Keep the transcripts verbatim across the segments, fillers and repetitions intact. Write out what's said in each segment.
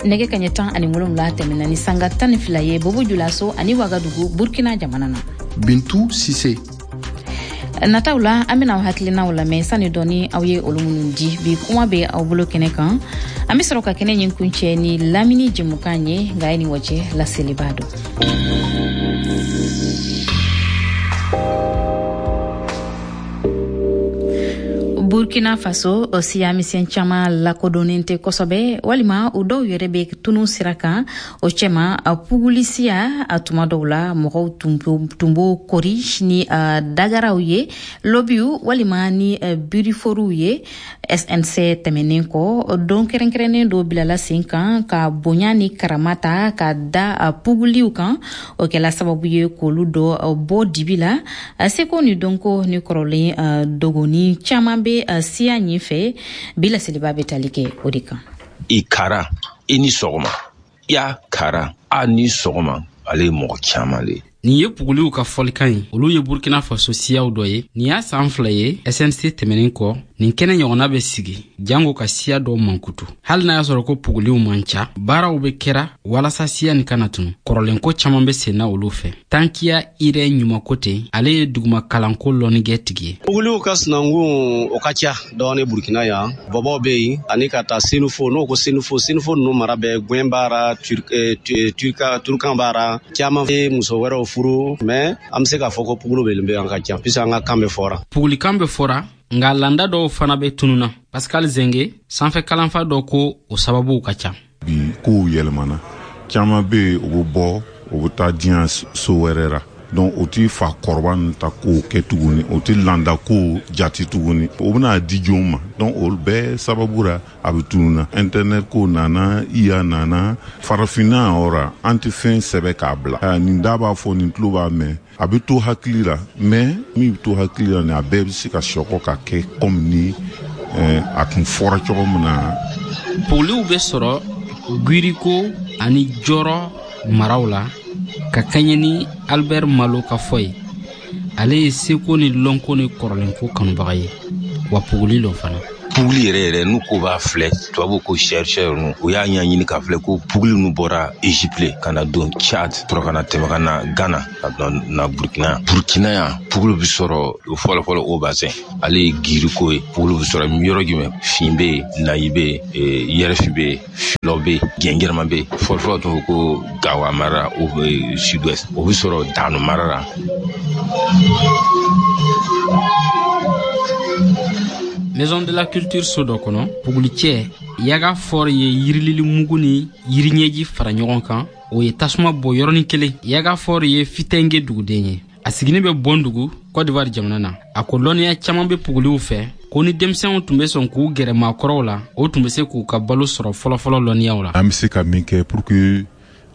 Nɛgɛ kaɲɛ tan ani wolonwula tɛmɛna ni sanga tan ni fila ye Bobo Julaso ani Wagadugu, Burkina jamana na. Bintu Sise. Nataw la, an bɛna aw hakilinaw lamɛn sani dɔɔni, aw ye olu minnu di bi kuma bɛ aw bolo kɛnɛ kan. An bɛ sɔrɔ ka kɛnɛ ɲin kuncɛ ni lamini jɛmukan ye, nka ye nin wacɛ laseliba don. Burkina Faso, siya misɛn caman lakodɔnnen tɛ kosɛbɛ, walima u dɔw yɛrɛ bɛ tunu sira kan. O cɛma, puguli siya, a tuma dɔw la mɔgɔw tun b'o kori ni dagaraw ye, lobiw walima ni biriforow ye. S N C tɛmɛnen kɔ, don kɛrɛnkɛrɛnnen dɔ bilala sen kan ka bonya ni karama ta ka da puguliw kan. O kɛla sababu ye k'olu dɔ bɔ dibi la. Seko ni dɔnko ni kɔrɔlen dogoni caman bɛ siya ɲin fɛ. Bi laseliba bɛ tali kɛ o de kan. I kara, i ni sɔgɔma. Ya kara, a ni sɔgɔma. Ale ye mɔgɔ caman le. Nin ye puguliw ka fɔlikan ye. Olu ye Burkina Faso siyaw dɔ ye. Nin y'a saan fila ye S N C tɛmɛnin kɔ, nin kɛnɛ ɲɔgɔnna bɛ sigi jango ka siya dɔw mankutu. Hali n'a y'a sɔrɔ ko puguliw man ca, baaraw be kɛra walasa siya nin kana tunu. Kɔrɔlenko caaman be senna olu fɛ. Tankiya Irɛ Ɲumako ten, ale ye duguma kalanko lɔnnigɛ tigi ye. Puguliw ka sinankun, o ka ca dɔɔni Burkina yan. Bɔbɔw be yen, ani ka taa Senufo. N'o ko Senufo, Senufo nunu mara bɛ Gwɛn b'a ra, Turukan b'a ra, caman ye muso wɛrɛw furu. Mais an be se k'a fɔ ko pugulu bɛ bɛ an ka ca, puisque an ka kan bɛ fɔra. Pugulikan bɛ fɔra, nka landa dɔw fana bɛ tununa. Pascal Zenge, sanfɛ kalanfa dɔ, ko o sababuw ka ca. Bi kow yɛlɛmana, caman bɛ yen, u bɛ bɔ, u bɛ taa diɲɛ so wɛrɛ la. Donc o ti fa kɔrɔba ninnu ta kow kɛ tuguni, o ti landa kow jati tuguni, o bɛna di jɔn ma? Donc o bɛɛ sababu la, a bɛ tununa. Internet ko nana, I A nana. Farafinna yɔrɔ la, an tɛ fɛn sɛbɛ k'a bila. Nin da b'a fɔ, nin tulo b'a mɛn, a bɛ to hakili la. Mais min bɛ to hakili la, nin a bɛɛ bɛ se ka sɔkɔ ka kɛ komi ni a tun fɔra cogo min na. Puguliw bɛ sɔrɔ Gwiriko ani Jɔrɔ maraw la, ka kɛɲɛ ni Albert Malo ka fɔ ye. Ale ye seko ni lɔnko ni kɔrɔlenko kanubaga ye, wa puguli lɔ fana. Puguli yɛrɛ yɛrɛ, n'u ko b'a filɛ, tubabuw ko chercheur nu, o y'a ɲɛɲini k'a filɛ ko puguli nu bɔra Égypte ka na don Tchad, sɔrɔ ka na tɛmɛ ka na Ghana, ka na Burkina. Burkina yan, pugulu bɛ sɔrɔ fɔlɔ fɔlɔ o bassin, ale ye Giriko ye. Pugulu bɛ sɔrɔ yɔrɔ jumɛn? Fin bɛ yen, Nayi bɛ yen, Yɛrɛfi bɛ yen, Filɔ bɛ yen, Gɛngɛrɛma bɛ yen. Fɔlɔ fɔlɔ tun ko Gawa mara la, o bɛ sud-ouest, o bɛ sɔrɔ Dano mara la. Maison de la Culture so dɔ kɔnɔ, pugulicɛ Yaga Fɔr ye yirilili mugu ni yiriɲɛji fara ɲɔgɔn kan, o ye tasuma bɔ yɔrɔnin kelen. Yaga Fɔr ye Fitɛnge duguden ye, a siginin bɛ Bɔndugu, Côte d'Ivoire jamana na. A ko lɔnniya caaman bɛ puguliw fɛ, ko ni denmisɛnw tun bɛ sɔn k'u gɛrɛ maakɔrɔw la, o tun bɛ se k'u ka balo sɔrɔ fɔlɔfɔlɔ lɔnniyaw la. An bɛ se ka min kɛ pour que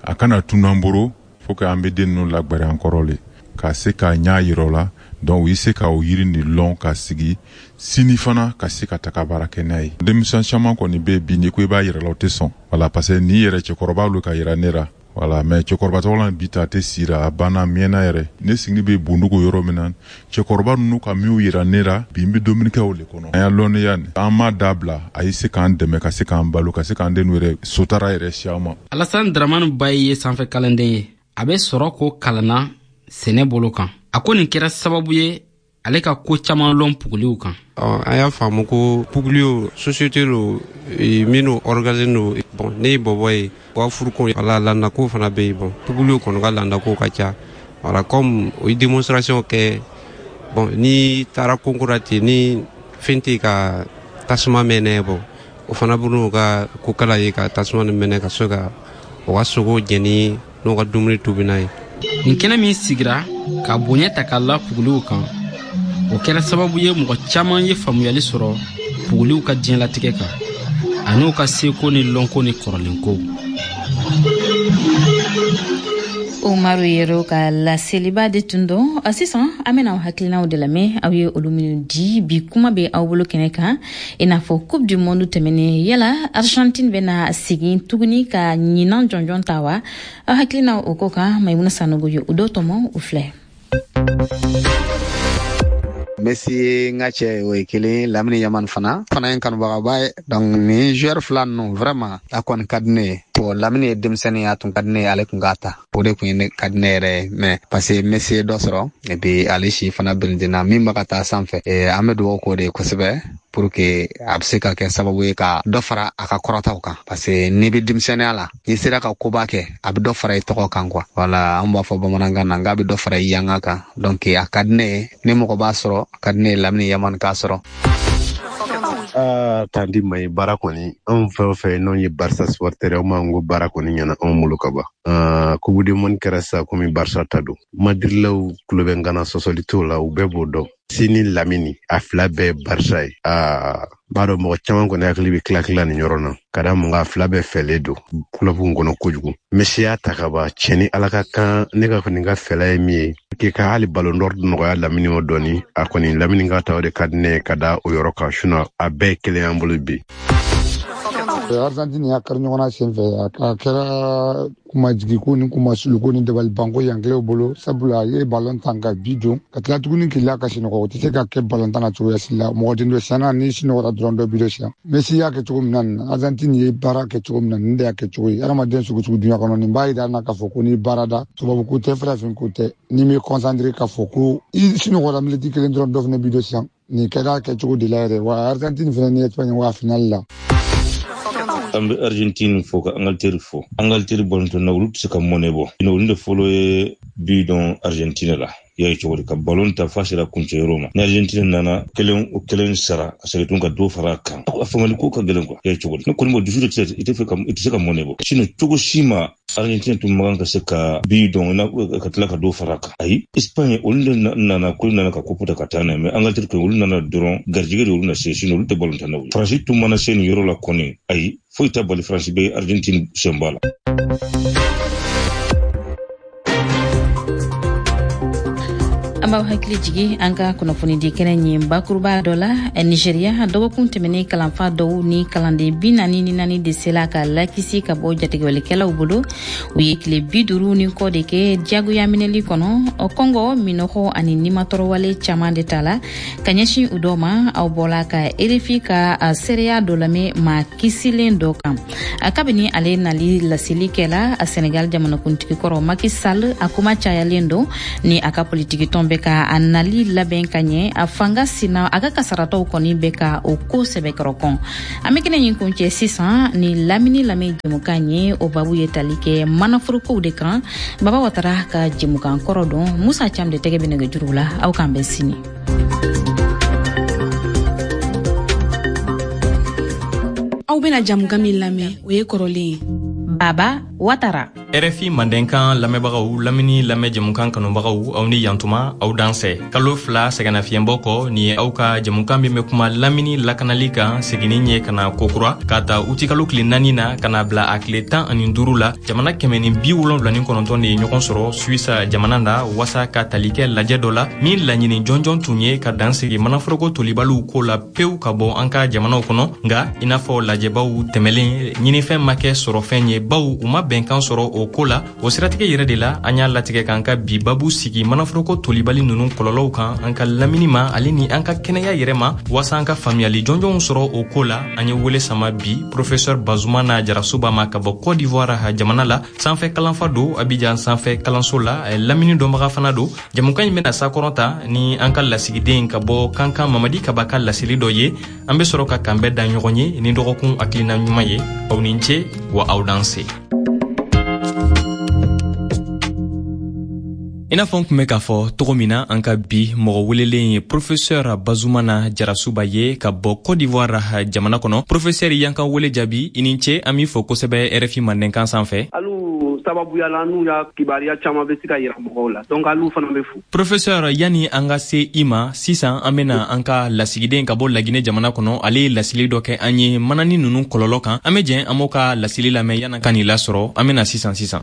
a kana tunu an bolo, faut que an bɛ den ninnu lagbɛrɛ an kɔrɔ le, ka se k'a ɲa yira o la. Donc u ye se ka o yiri nin lɔn ka sigi sini fana ka se ka taga baara kɛ n'a ye. Denmisɛn caman kɔni bɛ bi, n'i ko i b'a yira la, o tɛ sɔn. Wala, parce que n'i yɛrɛ cɛkɔrɔba lo ka yira ne la. Wala, mais cɛkɔrɔba tɔgɔ la bi ta a tɛ sira, a banna, a mɛnna yɛrɛ. Ne sigini bɛ Bundugu yɔrɔ min na, cɛkɔrɔba ninnu ka minw yira ne la, bi n bɛ dumuni kɛ o le kɔnɔ. An y'a lɔnniya nin, an m'a dabila, a ye se k'an dɛmɛ ka se k'an balo, ka se k'an denw yɛrɛ sotara yɛrɛ si an ma. Alassane Dramane Bayi ye sanfɛ kalanden ye, a bɛ sɔrɔ ko kalanna sɛnɛ bolo kan. A ko nin kɛra sababu ye ale ka ko caman lɔn puguliw kan. An y'a faamu ko puguliw société lo minnu organisé no. Bon, ne ye bɔbɔ ye, u ka furuko wala landako fana bɛ yen. Bon, puguliw kɔni ka landako ka ca. Wala, comme o ye démonstration kɛ. Bon, ni taara konko la ten, ni fɛn tɛ ka tasuma mɛnɛ, bon, o fana bɛ n'u ka kokala ye ka tasuma nin mɛnɛ ka se ka o ka sogo jɛni n'u ka dumuni tobi n'a ye. Nin kɛnɛ min sigira ka bonya ta k'a la puguliw kan, o kɛra sababu ye mɔgɔ caman ye faamuyali sɔrɔ puguliw ka diɲɛlatigɛ kan an'u ka seko ni lɔnko ni kɔrɔlenkow. Umaru Yero ka laseliba de tun don. Sisan an bɛna aw hakilinaw de lamɛn, aw ye olu minnu di bi kuma bɛ aw bolo kɛnɛ kan. I n'a fɔ Coupe du Monde tɛmɛnen, yala Argentine bɛna segin tuguni ka ɲinan jɔnjɔn ta wa? Aw hakilinaw o ko kan, Maimuna Sanogo ye o dɔ tɔmɔ, o filɛ. Messi ye n ka cɛ, o ye kelen. Lamini Yamal fana fana ye n kanubagaba ye. Donc nin joueur fila ninnu, vraiment, a kɔni ka di ne ye. Bon, Lamine ye denmisɛnnin ye, a tun ka di ne ye ale tun k'a ta, o de tun ye ne ka di ne yɛrɛ ye, mais parce que Messi ye dɔ sɔrɔ et puis ale si fana birintina min bɛ ka taa sanfɛ, an bɛ dugawu k'o de ye kosɛbɛ pour que a bɛ se ka kɛ sababu ye ka dɔ fara a ka kɔrɔtaw kan, parce que n'i bɛ denmisɛnninya la, n'i sera ka koba kɛ, a bɛ dɔ fara i tɔgɔ kan quoi. Voilà, an b'a fɔ bamanankan na k'a bɛ dɔ fara i yanga kan. Donc a ka di ne ye, ni mɔgɔ b'a sɔrɔ, a ka di ne ye Lamine Yamal k'a sɔrɔ. Aa, tandi ma ye baara kɔni, anw fɛn o fɛn n'anw ye Barca supporter, anw b'an ko baara kɔni ɲɛna anw bolo ka ban. Aa, Coupe du monde kɛra sisan komi Barca ta don. Madrilaw tulo bɛ n kana, sɔsɔli t'o la, u bɛɛ b'o dɔn. Sini Lamini a fila bɛɛ ye Barca ye. Aa, b'a dɔn mɔgɔ caman kɔni hakili bɛ tila tila nin yɔrɔ na ka da mun kan, a fila bɛɛ fɛlen don club kɔnɔ kojugu. Messi y'a ta ka ban, cɛ ni Ala ka kan, ne ka kɔni ka fɛla ye min ye k'i ka hali ballon d'or nɔgɔya Lamini ma dɔɔni, a kɔni Lamini ka ta o de ka di ne ye ka da o yɔrɔ kan, sinon a bɛɛ ye kelen y'an bolo bi. Argentine y'a kari ɲɔgɔn na senfɛ, a kɛra kumajigiko ni kumasuluko ni dabalibanko yankilɛw bolo, sabula a ye balon tan ka bi don ka tila tuguni k'i la ka sinɔgɔ, o tɛ se ka kɛ balon tan na cogoya si la. Mɔgɔ den dɔ siyanna, ni sinɔgɔra dɔrɔn dɔ bi dɔ siyan. Messi y'a kɛ cogo min na nin, Argentine ye baara kɛ cogo min na nin de y'a kɛ cogo ye. Hadamaden sugu sugu dunuya kɔnɔ, nin b'a yira an na k'a fɔ ko ni baara da, tubabu ko tɛ, farafin ko tɛ, n'i m'i concentré k'a fɔ ko i sinɔgɔra miniti kelen dɔrɔn, dɔ fana bi dɔ siyan. Nin kɛra kɛcogo de la yɛrɛ wa. Argentine fana ni Espagne wa finale la. An bɛ Argentine fo ka Angleterre fo. Angleterre balontan na, olu tɛ se ka mɔnɛ bɔ. Olu de fɔlɔ ye bi dɔn Argentine la. I y'a ye cogo di ka balon ta f'a sera kuncɛyɔrɔ ma. Ni Argentine nana kelen o kelen sara ka segin tun ka dɔ fara a kan. A faamali ko ka gɛlɛn quoi. I y'a ye cogo di. Ne kɔni b'o dusu de tɛ, i tɛ fɛ ka i tɛ se ka mɔnɛ bɔ. Sinon cogo si ma Argentine tun man kan ka se ka bi dɔn na ka tila ka dɔ fara a kan. Ayi, Espagne olu de nana ko nana ka coupe ta ka taa n'a ye, mais Angleterre kɔni olu nana dɔrɔn garijɛgɛ de olu na se, sinon olu tɛ balon tan na. Faransi tun mana se nin yɔrɔ la kɔni, ayi, foyi t'a bali Faransi bɛ Argentine senba la. An b'aw hakili jigi an ka kunnafonidi kɛnɛ ɲin bakuruba dɔ la. Nigeria, dɔgɔkun tɛmɛnen kalanfa dɔw ni kalanden bi naani ni naani de sela ka lakisi ka bɔ jatigɛwalekɛlaw bolo. U ye tile bi duuru ni kɔ de kɛ diyagoya minɛli kɔnɔ. Kɔngɔ, minɔgɔ ani nimatɔrɔwale caman de ta la ka ɲɛsin u dɔw ma. Aw bɔla ka R F I ka seereya dɔ lamɛn maa kisilen dɔ kan. Kabini ale nali laseli kɛla Senegal jamanakuntigi kɔrɔ Macky Sall, a kuma cayalen don ni a ka politiki tɔn bɛ ka a nali labɛn ka ɲɛ. A fanga sina a ka kasaratɔw kɔni bɛ ka o ko sɛbɛkɔrɔ kɔn. An bɛ kɛnɛ in kuncɛ sisan ni lamini lamɛn jɛmukan ye, o babu ye tali kɛ manaforokow de kan. Baba Watara ka jɛmukan kɔrɔ don, Musa Cam de tɛgɛ bɛ nɛgɛjuru la. Aw k'an bɛn sini. Aw bɛna jamukan min lamɛn, o ye kɔrɔlen ye. Baba Watara. R F I Mandenkan lamɛnbagaw, lamini lamɛn jɛmukan kanubagaw, aw ni yantuma, aw dansɛ. Kalo fila sɛgɛnnafiɲɛbɔ kɔ, nin ye aw ka jɛmukan min bɛ kuma lamini lakanali kan seginni ye ka na kokura k'a ta utikalo tile naani na ka na bila a tile tan ani duuru la. Jamana kɛmɛ ni bi wolonwula ni kɔnɔntɔn de ye ɲɔgɔn sɔrɔ Suisse jamana na wasa ka tali kɛ lajɛ dɔ la min laɲini jɔnjɔn tun ye ka dan sigi manaforoko tolibaliw ko la pewu ka bɔ an ka jamanaw kɔnɔ. Nka i n'a fɔ lajɛbaw tɛmɛlen, ɲinifɛn ma kɛ sɔrɔfɛn ye, baw u ma bɛnkan sɔrɔ o ko la. O siratigɛ yɛrɛ de la, an y'a latigɛ k'an ka bi babu sigi manaforoko tolibali ninnu kɔlɔlɔw kan an ka lamini ma ale ni an ka kɛnɛya yɛrɛ ma, waasa an ka faamuyali jɔnjɔnw sɔrɔ o ko la. An ye wele sama bi professeur Bazumana Jarasuba ma ka bɔ Côte d'Ivoire jamana la, sanfɛ kalanfa don Abidjan sanfɛ kalanso la, lamini dɔnbaga fana don. Jamukan in bɛna sakɔrɔ ta ni an ka lasigiden ka bɔ Kankan Mamadi Kaba ka laseli dɔ ye. An bɛ sɔrɔ ka kanbɛn da ɲɔgɔn ye ni dɔgɔkun hakilina ɲuman ye. Aw ni ce wa aw danse. I n'a fɔ n tun bɛ k'a fɔ cogo min na, an ka bi mɔgɔ welelen ye professeur Bazumana Jarasuba ye ka bɔ Côte d'Ivoire jamana kɔnɔ. Professeur, y'an ka wele jaabi, i ni ce, an b'i fo kosɛbɛ R F I Mandenkan sanfɛ. Alu sababuya la n'u y'a kibaruya caman bɛ se ka yira mɔgɔw la, donc alu fana bɛ fo. Professeur, yani an ka se i ma sisan, an bɛna an ka lasigiden ka bɔ Laginɛ jamana kɔnɔ, ale ye laseli dɔ kɛ an ye manani ninnu kɔlɔlɔ kan. An bɛ jɛn an b'o ka laseli lamɛn yan'an ka nin lasɔrɔ. An bɛna sisan sisan.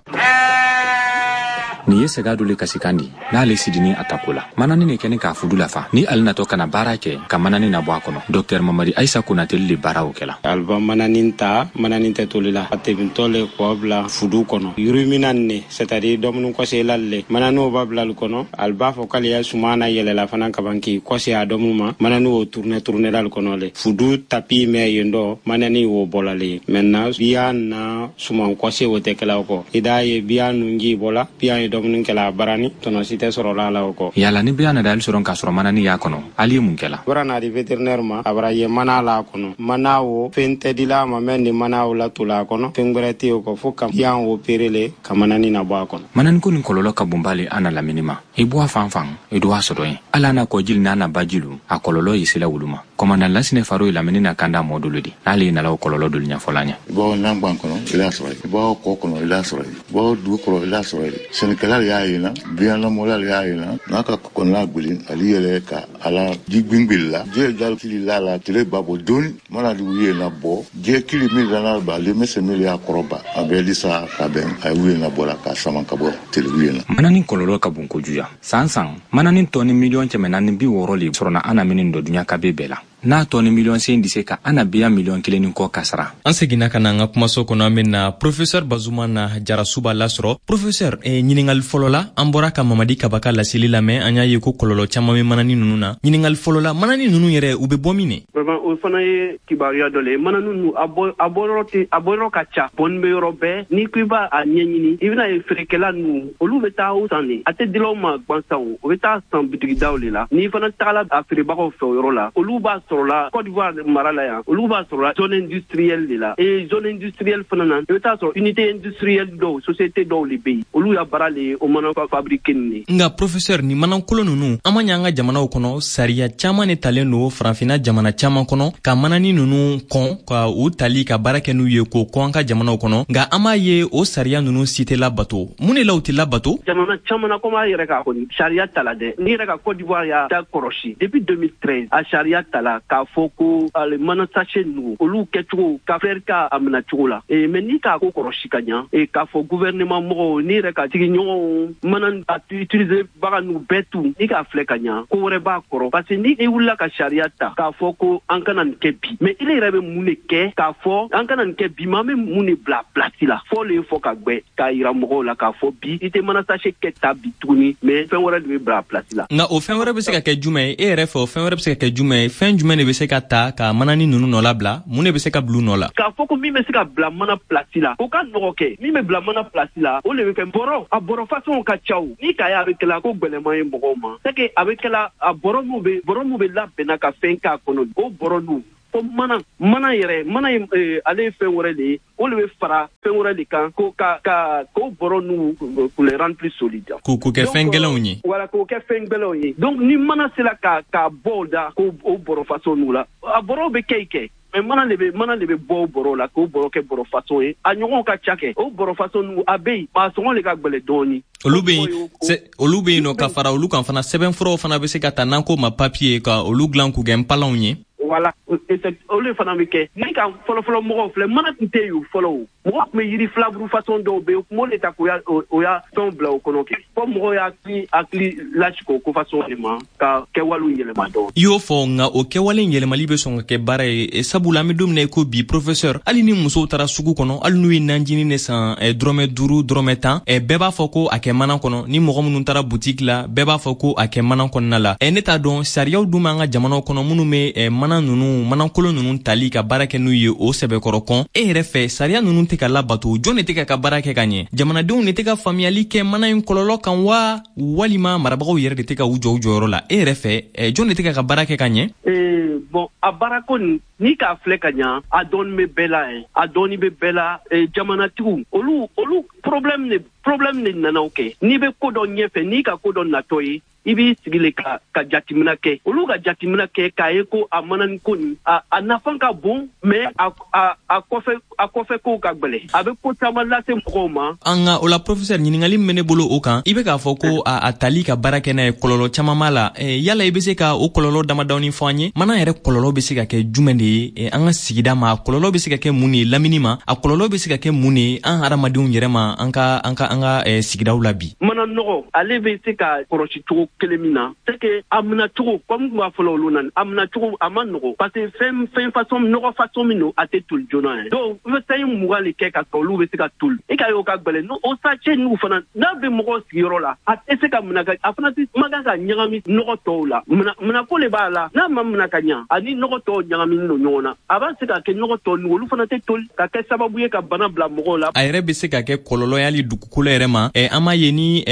Nin ye sɛgɛ dɔ le kasikan di n'ale sidini a tako la. Manani ne kɛni k'a fudu lafa ni ale natɔ kana baara kɛ ka manani nabɔ a kɔnɔ. Docteur Mamadi Aïssa Konateli le baaraw kɛla. Alba manani ta manani tɛ toli la a tebintɔ le k'o bila fudu kɔnɔ yurumina ne c'est à dire dumuni kɔsela le manani o b'a bila al kɔnɔ al b'a fɔ k'ale ya suma na yɛlɛla fana kaban k'i kɔse a dɔmu ma manani o tourner tourner al kɔnɔ le fudu tapi mɛ yen dɔ manani o bɔla le maintenant biya na suman kɔse o tɛ kɛla o kɔ i d'a ye biya nunji bɔla biya ye dumuni kɛla a barani tɔnɔ si tɛ sɔrɔla la o kɔ. Yala ni biya nada ali sɔrɔ k'a sɔrɔ manani y'a kɔnɔ ali ye mun kɛla? Bara na di vétérinaire ma a bara ye mana la kɔnɔ mana o fɛn tɛ dila ma mɛ ni mana o la tola a kɔnɔ fɛn gwɛrɛ tɛ o kɔ fo ka yan o perele ka manani na bɔ a kɔnɔ. Manani ko nin kɔlɔlɔ ka bon b'ale an na lamini ma. I bɔ a fan fan i do a sɔrɔ yen ala n'a kɔjili n'a na bajilu a kɔlɔlɔ ye sela wulu ma. Kɔmandan Lasinɛ Faro ye lamini na kanda mɔ dolo di n'ale ye nala o kɔlɔlɔ dolu ɲɛfɔla ɲɛ. I b'aw nangban kɔnɔ i l'a sɔrɔ yen, i b'aw kɔ kɔnɔ i l'a sɔrɔ yen, i b'aw dugu kɔrɔ i l'a sɔrɔ yen, sɛnɛkɛla de y'a ye na biyanlamɔla de y'a ye na n'a ka kɔnɔna gbeli ale yɛrɛ ka ala ji gbingbeli la diɲɛ da kili la la tile ba bɔ doni mana di ye na bɔ diɲɛ kili min lana ba ale mɛsɛ min y'a kɔrɔ ba a bɛ lisa ka bɛn a ye na bɔ la k'a sama ka bɔ tele ye na. Manani kɔlɔlɔ ka bon kojugu san san manani tɔni miliyɔn kɛmɛ naani bi wɔɔrɔ le sɔrɔna an na minnu dɔ duɲa kabe bɛɛ la. N'a tɔni miliyɔn sen di se ka an na biya miliyɔn kelen ni kɔ kasara. An seginna ka na an ka kumaso kɔnɔ an bɛna professeur Bazumana Jarasuba lasɔrɔ. Professeur, eh, ɲininkali fɔlɔ la an bɔra ka Mamadi Kaba ka laseli lamɛn an y'a ye ko kɔlɔlɔ caman bɛ manani ninnu na. Ɲininkali fɔlɔ la manani ninnu yɛrɛ u bɛ bɔ min ne? Vraiment o fana ye kibaruya dɔ le ye. Manani ninnu a bɔ a bɔyɔrɔ tɛ a bɔyɔrɔ ka ca bɔnni bɛ yɔrɔ bɛɛ n'i ko i b'a a ɲɛɲini i bɛna ye feerekɛla ninnu olu bɛ taa o san de a tɛ dilaw ma gansan o u bɛ taa san bitigidaw de la n'i fana tagala a feerebagaw fɛ o yɔrɔ la olu b'a sɔrɔla Côte d'Ivoire mara la yan olu b'a sɔrɔla zone industrielle de la et zone industrielle fana na i bɛ taa sɔrɔ unité industrielle dɔw société dɔw de bɛ yen olu ya baara le ye o mana fabriquer nin ye. Nka professeur ni manankolo ninnu an ma ɲɛ an ka jamanaw kɔnɔ sariya caman de talen don farafinna jamana caman kɔnɔ ka manani ninnu kɔn ka u tali ka baara kɛ n'u ye k'o kɔn an ka jamanaw kɔnɔ nka an b'a ye o sariya ninnu si tɛ labato. Mun de la u tɛ labato? Jamana caman na komi a yɛrɛ k'a kɔni sariya tala dɛ n'i yɛrɛ ka Côte d'Ivoire y'a da kɔrɔsi depuis deux mille treize a sariya tala k'a fɔ ko ale mana sachet ninnu olu kɛcogo ka fɛrɛ k'a a minɛ cogo la e mais n'i k'a ko kɔrɔsi ka ɲa e k'a fɔ gouvernement mɔgɔw n'i yɛrɛ ka sigiɲɔgɔnw mana a utiliser bagan ninnu bɛɛ tu n'i k'a filɛ ka ɲa ko wɛrɛ b'a kɔrɔ parce que ni i wulila ka sariya ta k'a fɔ ko an kana nin kɛ bi mais ile yɛrɛ bɛ mun de kɛ k'a fɔ an kana nin kɛ bi mais an bɛ mun de bila place la fɔ le ye fɔ ka gbɛ k'a yira mɔgɔw la k'a fɔ bi i tɛ mana sachet kɛ ta bi tuguni mais fɛn wɛrɛ de bɛ bila place la. Nka o fɛn wɛrɛ bɛ se ka kɛ jumɛn ye e yɛrɛ fɛ o fɛn wɛrɛ bɛ se ka kɛ jumɛn ye fɛn jumɛn de bɛ se ka ta ka manani ninnu nɔ labila mun de bɛ se ka bila u nɔ la? K'a fɔ ko min bɛ se ka bila mana place la o ka nɔgɔ kɛ min bɛ bila mana place la o de bɛ kɛ bɔrɔ a bɔrɔ façon ka ca o n'i k'a ye a bɛ kɛla ko gbɛlɛman ye mɔgɔw ma c'est que a bɛ kɛla a bɔrɔ min bɛ bɔrɔ min bɛ labɛnna ka fɛn k'a kɔnɔ o bɔrɔ ninnu ko mana mana yɛrɛ mana ye ale ye fɛn wɛrɛ de ye o de bɛ fara fɛn wɛrɛ de kan ko ka ka k'o bɔrɔ ninnu pour les rendre plus solides. K'o k'o kɛ fɛn gɛlɛnw ye. Voilà k'o kɛ fɛn gɛlɛnw ye donc ni mana sera ka ka bɔ o da k'o o bɔrɔ façon ninnu la a bɔrɔw bɛ kɛ kɛ mais mana de bɛ mana de bɛ bɔ o bɔrɔ la k'o bɔrɔ kɛ bɔrɔ façon ye a ɲɔgɔn ka ca kɛ o bɔrɔ façon ninnu a bɛ yen mais a sɔngɔ de ka gɛlɛn dɔɔnin. Olu bɛ yen olu bɛ yen nɔ ka fara olu kan fana sɛbɛnfuraw fana bɛ se ka ta n'an k'o ma papier ka olu dilan k'u kɛ npalanw ye. Voilà olu fana bɛ kɛ ni ka fɔlɔfɔlɔ mɔgɔw filɛ mana tun tɛ yen fɔlɔ o mɔgɔ tun bɛ yiri filaburu façon dɔw bɛ yen u tun b'o de ta k'o ya o ya fɛnw bila o kɔnɔ kɛ fɔ mɔgɔw y'a hakili hakili lasigi o ko façon de ma ka kɛwalew yɛlɛma dɔɔnin. I y'o fɔ nka o kɛwale in yɛlɛmali bɛ sɔn ka kɛ baara ye sabula an bɛ don min na i ko bi professeur hali ni musow taara sugu kɔnɔ hali n'u ye najini de san dɔrɔmɛ duuru dɔrɔmɛ tan bɛɛ b'a fɔ ko a kɛ mana kɔnɔ ni mɔgɔ minnu taara boutique la bɛɛ b'a fɔ ko a kɛ mana kɔnɔna la ne t'a dɔn sariyaw dun b'an ka jamanaw kɔnɔ minnu bɛ mana ninnu manankolo ninnu tali ka baara kɛ n'u ye o sɛbɛkɔrɔ kɔn e yɛrɛ fɛ sariya ninnu tɛ ka labato jɔn de tɛ ka ka baara kɛ ka ɲɛ jamanadenw de tɛ ka faamuyali kɛ mana in kɔlɔlɔ kan wa walima marabagaw yɛrɛ de tɛ ka u jɔ u jɔyɔrɔ la e yɛrɛ fɛ jɔn de tɛ ka ka baara kɛ ka ɲɛ? Bon a baarako nin n'i k'a filɛ ka ɲa a dɔɔni bɛ bɛɛ la a dɔɔni bɛ bɛɛ la jamanatigiw olu olu problème de problème de nana o kɛ n'i bɛ ko dɔ ɲɛfɛ n'i ka ko dɔ natɔ ye I b'i sigi le ka ka jateminɛ kɛ. Olu ka jateminɛ kɛ k'a ye ko a manani ko nin a a nafa ka bon, mais a a a kɔfɛ a kɔfɛ kow ka gwɛlɛ. A bɛ ko caman lase mɔgɔw ma. An ka o la, professeur, ɲininkali min bɛ ne bolo o kan, i bɛ k'a fɔ ko a, a tali ka baara kɛ n'a ye, kɔlɔlɔ caman b'a la. Yala i bɛ se ka o kɔlɔlɔ damadɔni fɔ an ye? Mana yɛrɛ kɔlɔlɔ bɛ se ka kɛ jumɛn de ye an ka sigida ma? A kɔlɔlɔ bɛ se ka kɛ mun de ye lamini ma? A kɔlɔlɔ bɛ se ka kɛ mun de ye an hadamadenw yɛrɛ ma an ka an ka an ka sigidaw la bi? Mana nɔgɔ, ale bɛ se ka kɔrɔsi cogo kelen min na, c'est que a minɛ cogo, comme tun b'a fɔlɔ olu na, a minɛ cogo a ma nɔgɔ, parce que fɛn fɛn façon nɔgɔ façon min don, a tɛ toli joona yɛrɛ. Donc i bɛ sanji mugan de kɛ ka sɔrɔ olu bɛ se ka toli. E ka ye o ka gwɛlɛn. O sachet ninnu fana, n'a bɛ mɔgɔw sigiyɔrɔ la, a tɛ se ka minɛ ka a fana tɛ man kan ka ɲagami nɔgɔ tɔw la. Minɛ minɛko de b'a la. N'a ma minɛ ka ɲa, ani nɔgɔ tɔw ɲagaminen don ɲɔgɔn na, a b'a se ka kɛ nɔgɔ tɔ ninnu, olu fana tɛ toli, ka kɛ sababu ye ka bana bila mɔgɔw la. A yɛrɛ bɛ se ka kɛ kɔlɔlɔ ye hali dugukolo yɛrɛ ma. An m'a ye ni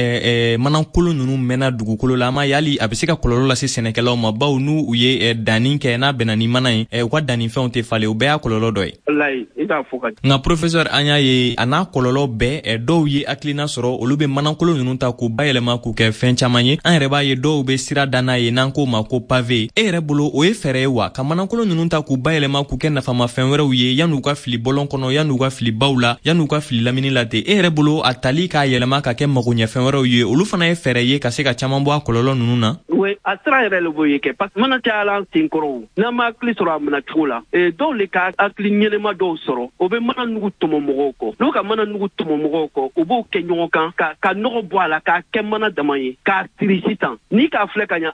manakolon ninnu mɛnna dugukolo la, an m'a ye hali a bɛ se ka kɔlɔlɔ lase sɛnɛkɛlaw ma, bawo n'u u ye danni kɛ, n'a bɛnna ni mana ye, u ka dannifɛnw tɛ falen. O bɛɛ y'a kɔlɔlɔ dɔ ye. Walayi, i k'a fɔ ka. Nka professeur, an y'a ye a n'a kɔlɔlɔ bɛɛ, dɔw ye hakilina sɔrɔ, olu bɛ manakolon ninnu ta k'u bayɛlɛma k'u kɛ fɛn caman ye. An yɛrɛ b'a ye dɔw bɛ sira da n'a ye, n'an k'o ma ko pavé. E yɛrɛ bolo, o ye fɛɛrɛ ye wa, ka manakolon ninnu ta k'u bayɛlɛma k'u kɛ nafamafɛn wɛrɛw ye, yan'u ka fili bɔlɔn kɔnɔ, yan'u ka fili baw la, yan'u ka fili lamini la ten? E yɛrɛ bolo, a tali k'a yɛlɛma ka kɛ magoɲɛfɛn wɛrɛw ye, olu fana ye fɛɛrɛ ye ka se ka caman bɔ a kɔlɔlɔ ninnu na? Oui, a sira yɛrɛ le b'o ye kɛ, parce que mana cayala an sen kɔrɔ, n'an ma hakili sɔrɔ a minɛ cogo la, dɔw le ka hakili ɲɛnɛma dɔw sɔrɔ, o bɛ mana nugu tɔmɔ mɔgɔw kɔ. N'u ka mana nugu tɔmɔ mɔgɔw kɔ, u b'o kɛ ɲɔgɔn kan ka ka nɔgɔ bɔ a la, k'a kɛ mana dama ye, k'a siri sisan. N'i k'a filɛ ka ɲa,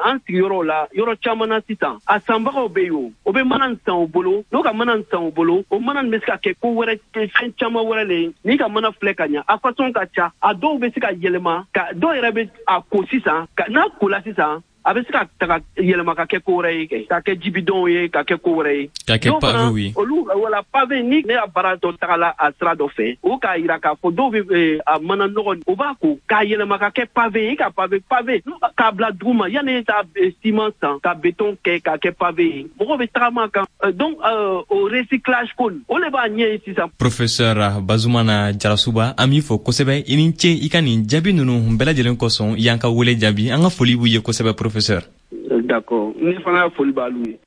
an sigiyɔrɔw la, yɔrɔ caman na sisan, a sanbagaw bɛ yen, o o bɛ mana san u bolo. N'u ka mana san u bolo, o mana bɛ se ka kɛ ko wɛrɛ, fɛn caman wɛrɛ le ye. N'i ka mana filɛ ka ɲa, a façon ka ca, a dɔw bɛ se ka yɛlɛma, ka dɔw yɛrɛ bɛ a ko sisan, n'a kola sisan, a bɛ se ka taga yɛlɛma ka kɛ ko wɛrɛ ye kɛ, ka kɛ jibidɔnw ye, ka kɛ ko wɛrɛ ye, ka kɛ pavé ye. Olu wala pavé, ni ne ya baara dɔ tagala a sira dɔ fɛ, o k'a yira k'a fɔ dɔw bɛ a mana nɔgɔ, o b'a ko k'a yɛlɛma ka kɛ pavé ye, ka pavé pavé k'a bila dugu ma, yanni e taa ciment san ka béton kɛ k'a kɛ pavé ye, mɔgɔw bɛ tagama kan. Donc o recyclage ko o de b'a ɲɛ ye sisan. Professeur Bazumana Jarasuba, an b'i fo kosɛbɛ. I ni ce i ka nin jaabi ninnu bɛɛ lajɛlen kosɔn. I y'an ka wele jaabi, an ka foli b'u ye kosɛbɛ, professeur. D'accord, ne fana foli b'alu ye.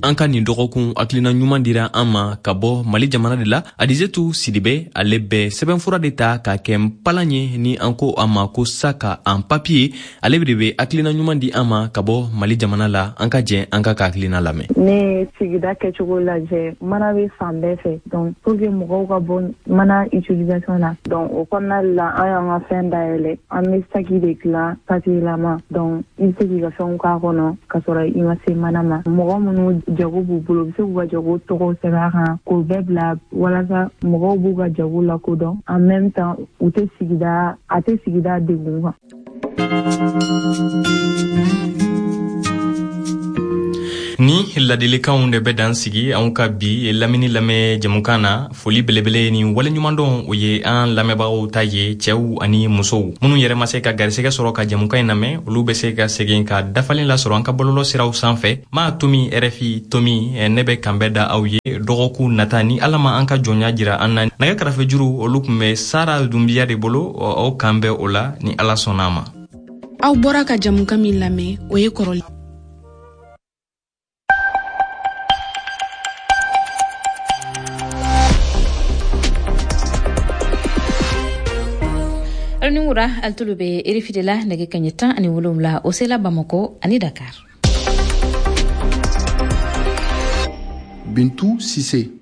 An ka nin dɔgɔkun hakilina ɲuman dira an ma ka bɔ Mali jamana de la. Adizetu Sidibe, ale bɛ sɛbɛnfura de ta k'a kɛ npalan ye, ni an ko a ma ko sac en papier. Ale de bɛ hakilina ɲuman di an ma ka bɔ Mali jamana la. An ka jɛ an ka ka hakilina lamɛn. Ne sigida kɛcogo lajɛ, mana bɛ fan bɛɛ fɛ, donc pour que mɔgɔw ka bɔ mana utilisation na, donc o kɔnɔna la, an y'an ka fɛn dayɛlɛ, an bɛ saki de dilan papier lama, donc i bɛ se k'i ka fɛnw k'a kɔnɔ ka sɔrɔ i ma se mana ma. Mɔgɔ minnu jago b'u bolo, u bɛ se k'u ka jago tɔgɔw sɛbɛn a kan k'o bɛɛ bila walasa mɔgɔw b'u ka jago lakodɔn, en même temps u tɛ sigida a tɛ sigida degun kan. Ni ladilikanw de bɛ dan sigi anw ka bi lamini lamɛn jɛmukan na. Foli belebele ni waleɲumandɔn, o ye an lamɛnbagaw ta ye, cɛw ani musow minnu yɛrɛ ma se ka garisɛgɛ sɔrɔ ka jɛmukan in lamɛn, olu bɛ se ka segin ka dafalen lasɔrɔ an ka bɔlɔlɔ siraw sanfɛ, ma tomi R F I tomi. Ne bɛ kanbɛ da aw ye dɔgɔkun nata, ni Ala ma an ka jɔnya jira an na. Nɛgɛ karafejuru, olu tun bɛ Sara Dunbiya de bolo. Aw kan bɛ o la ni Ala sɔnna a ma. Aw bɔra ka jɛmukan min lamɛn, o ye kɔrɔlen. Ni wura, alitolu be R F I de la. Nɛgɛ kaɲɛ tan ani wolonwula o sela Bamako ani Dakar. Bintu Sise.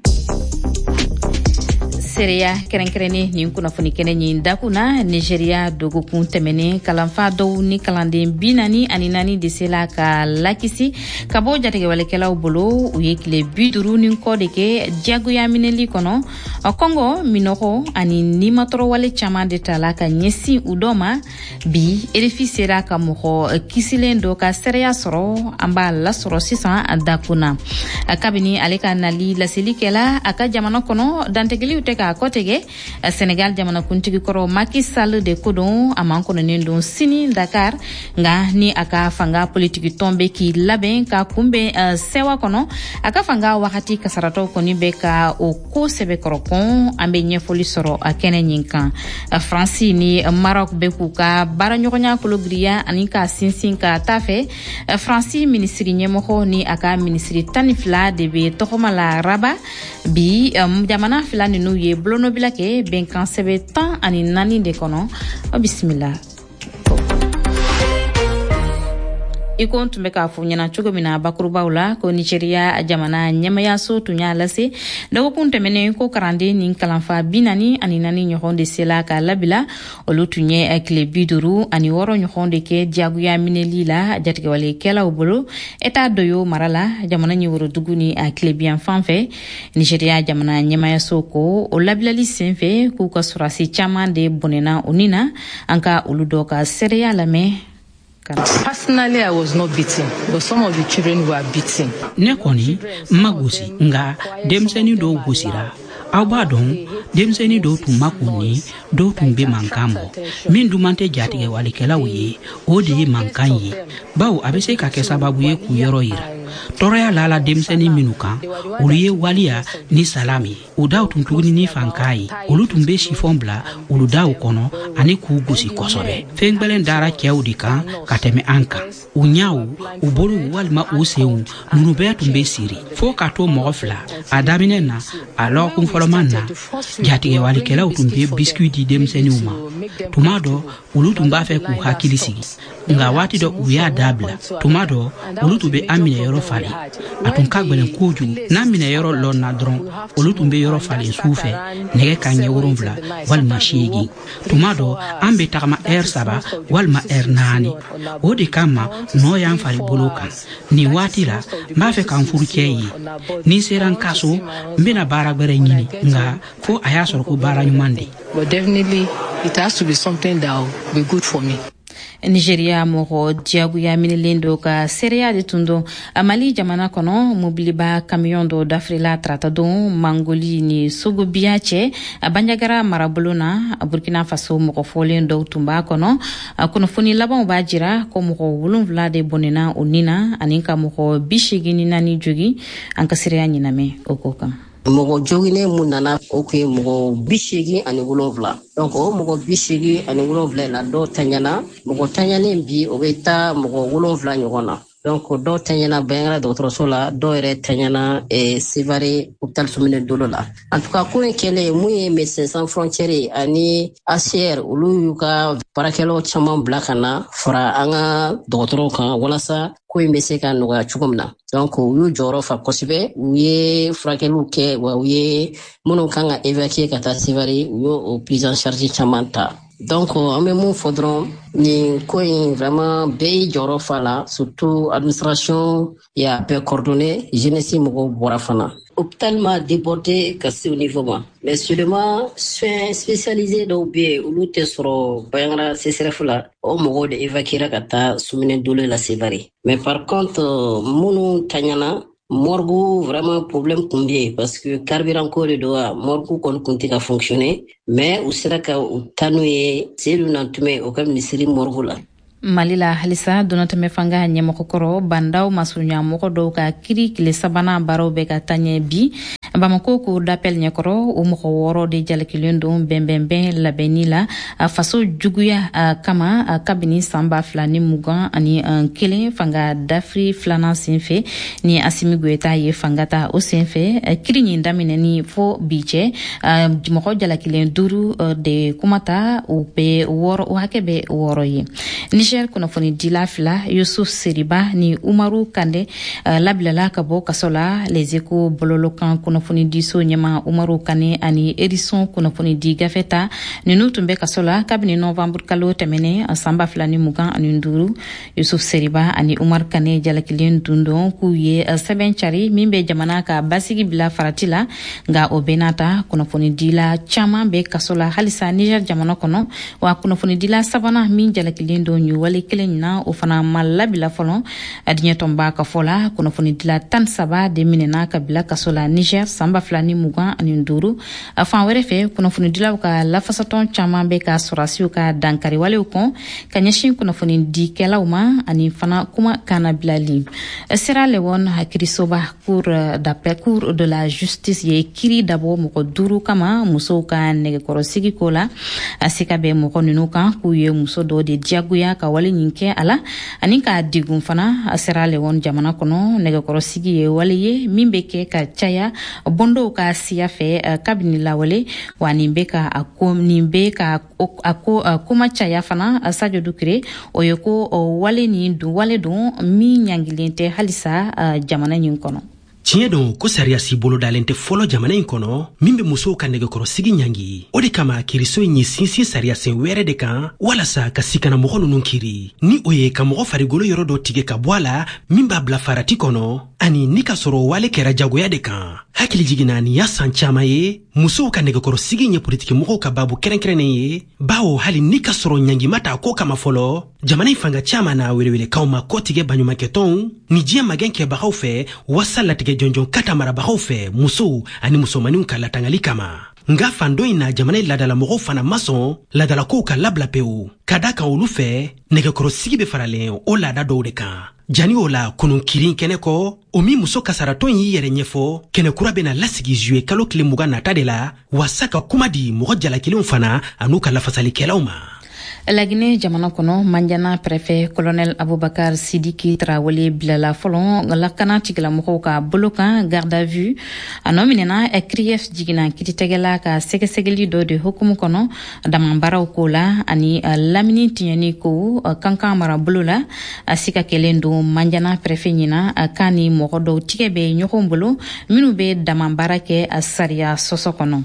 Seereya kɛrɛnkɛrɛnnen nin kunnafoni kɛnɛ ɲin dakun na, Nigeria dogokun tɛmɛnen, kalanfa dɔw ni kalanden bi naani ani naani de sela ka lakisi ka bɔ jatigɛwalekɛlaw bolo. U ye tile bi duuru ni kɔ de kɛ diyagoya minɛli kɔnɔ. Kɔngɔ, minɔgɔ ani nimatɔrɔwale caman de tala ka ɲɛsin u dɔ ma. Bi R F I sera ka mɔgɔ kisilen dɔ ka seereya sɔrɔ, an b'a lasɔrɔ sisan dakun na. Kabini ale ka nali laseli kɛla a ka jamana kɔnɔ, dantigɛliw tɛ ka k'a kɔtigɛ. Senegal jamanakuntigi kɔrɔ Macky Sall de ko don, a makɔnɔnen don sini Dakar, nka ni a ka fanga politiki tɔn bɛ k'i labɛn ka kunbɛn sɛwa kɔnɔ. A ka fanga wagati kasaratɔw kɔni bɛ ka o ko sɛbɛkɔrɔ kɔn. An bɛ ɲɛfɔli sɔrɔ a kɛnɛ ɲin kan. Faransi ni Maroc bɛ k'u ka baaraɲɔgɔnya kologiriya ani ka sinsin ka taa fɛ. Faransi minisiri ɲɛmɔgɔ ni a ka minisiri tan ni fila de bɛ tɔgɔma la Rabat bi. Jamana fila ninnu ye bolonɔbila kɛ bɛnkan sɛbɛn tan ani naani de kɔnɔ. Aw bisimila. I ko n tun bɛ k'a fɔ ɲɛna cogo min na bakurubaw la, ko Nigeria jamana ɲɛmayaso tun y'a lase dɔgɔkun tɛmɛnen ko karanden ni kalanfa bi naani ani naani ɲɔgɔn de sela k'a labila. Olu tun ye tile bi duuru ani wɔɔrɔ ɲɔgɔn de kɛ diyagoya minɛli la jatigɛwalekɛlaw bolo Eta Doyo mara la, jamana ɲɛworodugu ni a tilebiyan fan fɛ. Nigeria jamana ɲɛmayaso ko o labilali sen fɛ k'u ka sɔrɔdasi caman de bɔnɛna u ni na. An ka olu dɔ ka seereya lamɛn. Personally, I was not beaten, but some of the children were beaten. Ne kɔni ma gosi, nka denmisɛnnin dɔw gosira. Aw b'a dɔn, denmisɛnnin dɔw tun ma kunni, dɔw tun bɛ mankan bɔ. Min duman tɛ jatigɛwalikɛlaw ye, o de ye mankan ye, bawo a bɛ se ka kɛ sababu ye k'u yɔrɔ yira. Tɔɔrɔya lala denmisɛnnin minnu kan, olu ye waliya ni salam ye. U daw tun tuguni ni fankan ye. Olu tun bɛ sifɔn bila olu daw kɔnɔ ani k'u gosi kosɛbɛ. Fɛn gwɛlɛn dara cɛw de kan ka tɛmɛ an kan. U ɲaw, u bolow walima u senw, ninnu bɛɛ tun bɛ siri fɔɔ ka to mɔgɔ fila. A daminɛ na, a lɔgɔkun fɔlɔman na, jatigɛwalikɛlaw tun bɛ biscuit di denmisɛnninw ma. Tuma dɔ, olu tun b'a fɛ k'u hakili sigi, nka waati dɔ u y'a dabila. Tuma dɔ, olu tun bɛ an minɛ yɔrɔ falen. A tun ka gwɛlɛn kojugu. N'an minɛ yɔrɔ lɔnna dɔrɔn, olu tun bɛ yɔrɔ falen su fɛ nɛgɛ ka ɲɛ wolonwula walima seegin. Tuma dɔ, an bɛ tagama ɛri saba walima ɛri naani. O de kama nɔ y'an fari bolo kan. Nin waati la, n b'a fɛ ka n furucɛ ye. Ni n sera n ka so, n bɛna baara gwɛrɛ ɲini, nka fo a y'a sɔrɔ ko baara ɲuman de. But definitely, it has to be something that will be good for me. Nigeria mɔgɔ diyagoya minɛlen dɔ ka seereya de tun don. Mali jamana kɔnɔ, mobiliba kamiyɔn dɔ dafirila tarata don Mangoli ni Sogobiya cɛ Banjagara marabolo na. Burkina Faso mɔgɔ fɔlen dɔw tun b'a kɔnɔ. Kunnafoni labanw b'a jira ko mɔgɔ wolonwula de bɔnɛna o ni na ani ka mɔgɔ bi seegin ni naani jogi. An ka seereya ɲinamɛ o ko kan. Mɔgɔ joginen mun nana, o kun ye mɔgɔ bi seegin ani wolonwula. Donc o mɔgɔ bi seegin ani wolonwula in na, dɔw taɲana. Mɔgɔ taɲanen bi, o bɛ taa mɔgɔ wolonwula ɲɔgɔn na. Donc dɔw taɲana Banjagara dɔgɔtɔrɔso la, dɔw yɛrɛ taɲana eh, Sevare hôpital Sumine Dolo la. En tout cas, ko in kɛlen, mun ye Médecins Sans Frontières ani A C R, olu y'u ka baarakɛlaw caman bila ka na fara an ka dɔgɔtɔrɔw kan walasa ko in bɛ se ka nɔgɔya cogo min na. Donc u y'u jɔyɔrɔ fa kosɛbɛ, u ye furakɛliw kɛ, wa u ye minnu kan ka évacuer ka taa Sevare, u y'o prise en charge caman ta. Donc an bɛ mun fɔ dɔrɔn, nin ko in vraiment bɛɛ y'i jɔyɔrɔ fa la, surtout administration y'a bɛɛ coordonné, jeunesse mɔgɔw bɔra fana. Hôpital ma débordé ka se o niveau ma, mais seulement soins spécialisés dɔw bɛ yen, olu tɛ sɔrɔ Banjagara C S R F la, o mɔgɔw de évacuera ka taa Sumine Dolo la Sevare. Mais par contre, minnu taɲana, morgue vraiment problème kun bɛ yen, parce que carburant ko de don wa, morgue kɔni kun tɛ ka fonctionner, mais u sera ka u taa n'u ye Seydou Nantumɛ o ka misiri morgue la. Mali la halisa, donnatɛmɛ fanga ɲɛmɔgɔkɔrɔ bandaw masurunya mɔgɔ dɔw ka kiri tile sabanan baaraw bɛ ka taɲɛ bi Bamako cour d'appel ɲɛkɔrɔ. O mɔgɔ wɔɔrɔ de jalakilen don bɛnbɛnbɛn labɛnni la faso juguya kama kabini san ba fila ni mugan ani kelen fanga dafiri filanan senfɛ ni Asimi Goyita ye fanga ta. O senfɛ, kiri ɲin daminɛni fo bi cɛ, mɔgɔ jalakilen duuru de kumata, o bɛ wɔɔrɔ, o hakɛ bɛ wɔɔrɔ ye. Niger kunnafonidila fila, Yusuf Seriba ni Umaru Kande, labilala ka bɔ kaso la. Les Échos bɔlɔlɔkan kunnafonidiso ɲɛma Umaru Kane ani Edison kunnafonidi gafe ta, ninnu tun bɛ kaso la kabini novembre kalo tɛmɛnen san ba fila ni mugan ani duuru. Yusuf Seriba ani Umar Kane jalakilen dun don k'u ye sɛbɛn cari min bɛ jamana ka basigi bila farati la. Nka o bɛɛ n'a ta, kunnafonidila caman bɛ kaso la halisa Niger jamana kɔnɔ, wa kunnafonidila sabanan min jalakilen don nin wale kelen na, o fana ma labila fɔlɔ. Diɲɛ tɔnba ka fɔ la, kunnafonidila tan saba de minɛna ka bila kaso la Niger. san ba fila ni mugan ani duuru. A fan wɛrɛ fɛ, kunnafonidilaw ka lafasatɔn caman bɛ ka sɔrɔdasiw ka dankariwalew kɔn ka ɲɛsin kunnafonidikɛlaw ma ani fana kuma kannabilali. Sierra Leone kiirisoba cour d'appel, cour de la justice ye kiiri dabɔ mɔgɔ duuru kama musow ka nɛgɛkɔrɔsigi ko la. A sika bɛ mɔgɔ ninnu kan k'u ye muso dɔ de diyagoya ka wale nin kɛ a la ani k'a degun fana. Sierra Leone jamana kɔnɔ, nɛgɛkɔrɔsigi ye wale ye min bɛ kɛ ka caya bondow ka siya fɛ kabini lawale, wa nin bɛ ka a ko nin bɛ ka a ko kuma caya fana. Sadio Dukure, o ye ko wale nin dun wale don min ɲangilen tɛ halisa jamana nin kɔnɔ. Tiɲɛ don ko sariyasi bolodalen tɛ fɔlɔ jamana in kɔnɔ min bɛ musow ka nɛgɛkɔrɔsigi ɲangi. O de kama kiiriso in ye sinsin sariyasen wɛrɛ de kan walasa ka sikanamɔgɔ ninnu kiri, ni o ye ka mɔgɔ farigolo yɔrɔ dɔ tigɛ ka bɔ a la min b'a bila farati kɔnɔ, ani ni ka sɔrɔ wale kɛra jagoya de kan. Hakili jiginna, nin y'a san caman ye musow ka nɛgɛkɔrɔsigi ye politikimɔgɔw ka babu kɛrɛnkɛrɛnnen ye, bawo hali ni ka sɔrɔ ɲangima t'a ko kama fɔlɔ, jamana in fanga caman n'a welewelekaw ma kɔtigɛ baɲumankɛtɔnw ni diɲɛ magɛn kɛbagaw fɛ wasa latigɛ jɔnjɔn ka ta marabagaw fɛ musow ani musomaninw ka latangali kama. Nga fan dɔ in na, jamana laadalamɔgɔw fana ma sɔn laadalakow ka labila pewu, ka da kan olu fɛ nɛgɛkɔrɔsigi bɛ faralen o laada dɔw de kan. Jani o la kunun kirin kɛnɛ kɔ, o min muso kasaratɔn y'i yɛrɛ ɲɛfɔ, kɛnɛ kura bɛna lasigi zuye kalo tile mugan nata de la wasa ka kuma di mɔgɔ jalakilenw fana an'u ka lafasalikɛlaw ma. Laginɛ jamana kɔnɔ, Manjana préfet colonel Abubakar Sidiki Traoré bilala fɔlɔ lakana tigilamɔgɔw ka bolo kan, garde à vue. A nɔ minɛna C R I F jiginna kiiritigɛla ka sɛgɛsɛgɛli dɔ de hukumu kɔnɔ damanbaaraw ko la ani lamini tiɲɛni ko Kankan marabolo la. A sika kɛlen don Manjana préfet ɲina k'a ni mɔgɔ dɔw tigɛ bɛ ɲɔgɔn bolo minnu bɛ damanbaara kɛ sariya sɔsɔ kɔnɔ.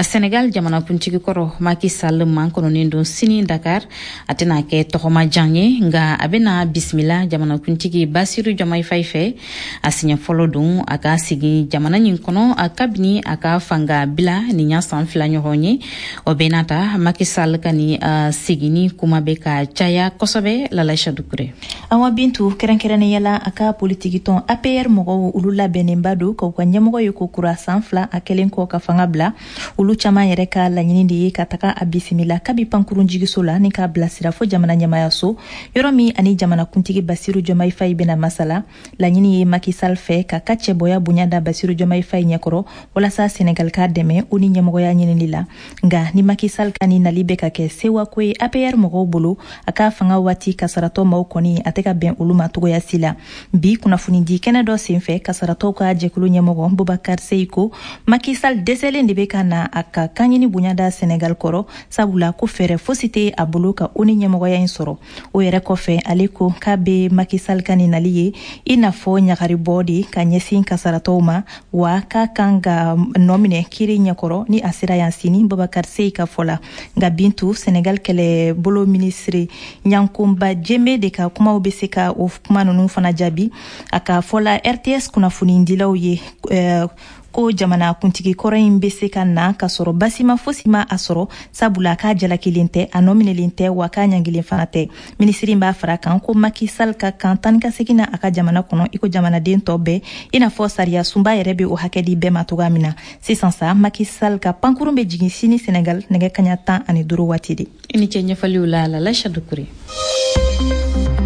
Senegal jamanakuntigi kɔrɔ Macky Sall mankɔnɔnen don sini Dakar. A tɛna kɛ tɔgɔmajan ye, nka a bɛna bisimila jamanakuntigi Basiru Diomaye Faye fɛ. A siɲɛ fɔlɔ don a ka sigi jamana nin kɔnɔ kabini a ka fanga bila nin y'a san fila ɲɔgɔn ye. O bɛɛ n'a ta, Macky Sall ka nin seginni kuma bɛ ka caya kosɛbɛ. Lalaïcha Dukure. Awa Bintu, kɛrɛnkɛrɛnnenya la a ka politikitɔn A P R mɔgɔw, olu labɛnnenba don k'u ka ɲɛmɔgɔ ye ko kura san fila a kɛlen kɔ ka fanga bila. Olu caman yɛrɛ ka laɲini de ye ka taga a bisimila kabi pankurun jigiso la ni k'a bilasira fo jamana ɲɛmayaso, yɔrɔ min ani jamanakuntigi Basiru Diomaye Faye bɛna masala. Laɲini ye Macky Sall fɛ ka ka cɛbɔya bonya da Basiru Diomaye Faye ɲɛkɔrɔ walasa Senegal k'a dɛmɛ o ni ɲɛmɔgɔya ɲinili la. Nka ni Macky Sall ka ni nali bɛ ka kɛ sewako ye A P R mɔgɔw bolo, a ka fanga waati kasaratɔ maaw kɔni a tɛ ka bɛn olu ma togoya si la. Bi kunnafonidi kɛnɛ dɔ senfɛ, kasaratɔw ka jɛkulu ɲɛmɔgɔ Bubakar Seye ko Macky Sall dɛsɛlen de bɛ ka na a ka kanɲini bonya da Senegal kɔrɔ, sabula ko fɛɛrɛ fosi tɛ a bolo ka o ni ɲɛmɔgɔya in sɔrɔ. O yɛrɛ kɔfɛ, ale ko k'a bɛ Macky Sall ka nin nali ye i n'a fɔ ɲagaribɔ de ka ɲɛsin kasaratɔw ma, wa k'a kan ka nɔ minɛ kiiri ɲɛkɔrɔ ni a sera yan sini, Babakar Seye ka fɔ la. Nka Bintu, Senegal kɛlɛbolo minisiri Ɲankunba Jeme de ka kumaw bɛ se ka o kuma ninnu fana jaabi. A ka fɔ la R T S kunnafonidilaw ye euh, ko jamana kuntigi kɔrɔ in bɛ se ka na ka sɔrɔ basima fosi ma a sɔrɔ, sabula k'a jalakilen tɛ, a nɔminɛlen tɛ, wa k'a ɲangilen fana tɛ. Minisiri b'a fara kan ko Macky Sall ka kan tan ka segin na a ka jamana kɔnɔ i ko jamanaden tɔ bɛɛ, i n'a fɔ sariya sunba yɛrɛ bɛ o hakɛ di bɛɛ ma cogoya min na. Sisan sa, Macky Sall ka pankurun bɛ jigin sini Senegal nɛgɛ kaɲa tan ani duuru waati de. I ni ce ɲɛfɔliw la, Lalaïcha Dukure.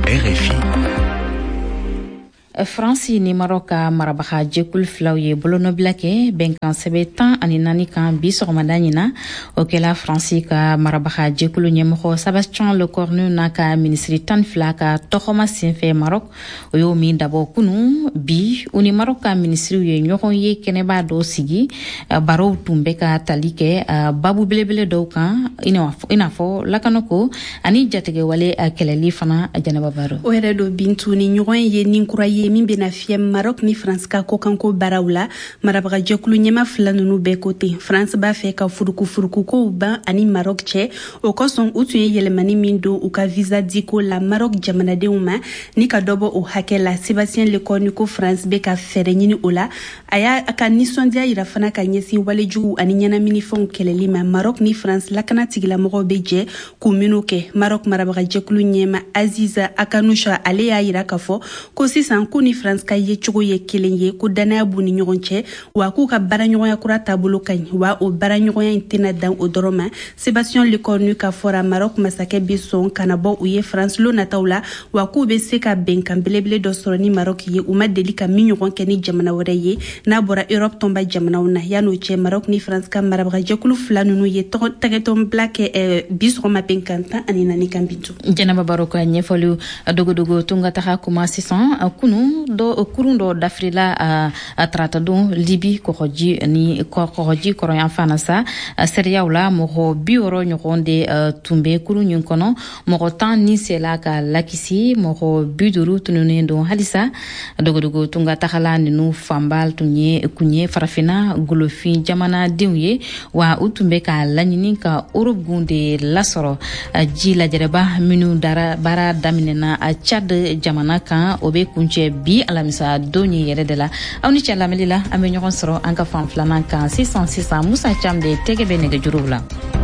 R F I. Faransi ni Maroc ka marabaga jɛkulu filaw ye bolonɔbila kɛ bɛnkan sɛbɛ tan ani naani kan bi sɔgɔmada ɲina. O kɛla Faransi ka marabaga jɛkulu ɲɛmɔgɔ Sébastien Lecornu n'a ka minisiri tan fila ka tɔgɔma senfɛ Maroc, o y'o min dabɔ kunu. Bi, u ni Maroc ka minisiriw ye ɲɔgɔn ye kɛnɛba dɔ sigi. Barow tun bɛ ka tali kɛ babu belebele dɔw kan, i n'a fɔ lakanako ani jatigɛwale kɛlɛli fana. Jɛnɛba Baro. O yɛrɛ don Bintu, ni ɲɔgɔn ye nin kura ye min bɛna fiyɛ Maroc ni France ka kɔkanko baaraw la. Marabagajɛkulu ɲɛma fila ninnu bɛɛ ko ten, France b'a fɛ ka furukufurukukow ban ani Maroc cɛ. O kosɔn, u tun ye yɛlɛmani min don u ka visa diko la Maroc jamanadenw ma ni ka dɔ bɔ o hakɛ la, Sébastien Lecornu ko France bɛ ka fɛɛrɛ ɲini o la. A y'a ka nisɔndiya yira fana ka ɲɛsin walejugu ani ɲɛnaminifɛnw kɛlɛli ma, Maroc ni France lakana tigilamɔgɔw bɛ jɛ k'u minnu kɛ. Maroc marabagajɛkulu ɲɛma Aziza Akanoucha, ale y'a yira k'a fɔ ko sisan k'u k'u ni France ka yecogo ye kelen ye, ko danaya b'u ni ɲɔgɔn cɛ, wa k'u ka baaraɲɔgɔnya kura taabolo ka ɲi, wa o baaraɲɔgɔnya in tɛna dan o dɔrɔn ma. Sébastien Lecornu ka fɔra, Maroc masakɛ bɛ sɔn ka na bɔ u ye France lon nataw la, wa k'u bɛ se ka bɛnkan belebele dɔ sɔrɔ ni Maroc ye, u ma deli ka min ɲɔgɔn kɛ ni jamana wɛrɛ ye n'a bɔra Europe tɔnba jamanaw na. Yan'o cɛ, Maroc ni France ka marabagajɛkulu fila ninnu ye tɛgɛtɔnbila kɛ bi sɔgɔma bɛnkan tan ani naani kan. Bintu Jɛnɛba Baro ka ɲɛfɔliw. Dogodogo tunga taga kuma sisan. Kunu dɔ, kurun dɔ dafirila a taratadon Libi kɔgɔji ni kɔgɔji kɔrɔyan na sa. Seereyaw la, mɔgɔ bi wɔɔrɔ ɲɔgɔn de tun bɛ kurun nin kɔnɔ. Mɔgɔ tan ni sela ka lakisi, mɔgɔ bi duuru tununnen don halisa. Dogodogo tunga tagala ninnu fanba tun ye kun ye Farafinna golofin jamanadenw ye, wa u tun bɛ ka laɲini ka Europe gun de lasɔrɔ. Ji lajɛrɛba minnu dara baara daminɛna Tchad jamana kan, o bɛ kuncɛ bi alamisa don ye yɛrɛ de la. Aw ni cɛ lamɛnli la, an bɛ ɲɔgɔn sɔrɔ an ka fan filanan kan sisan sisan. Musa Cam de tɛgɛ bɛ nɛgɛjuruw la.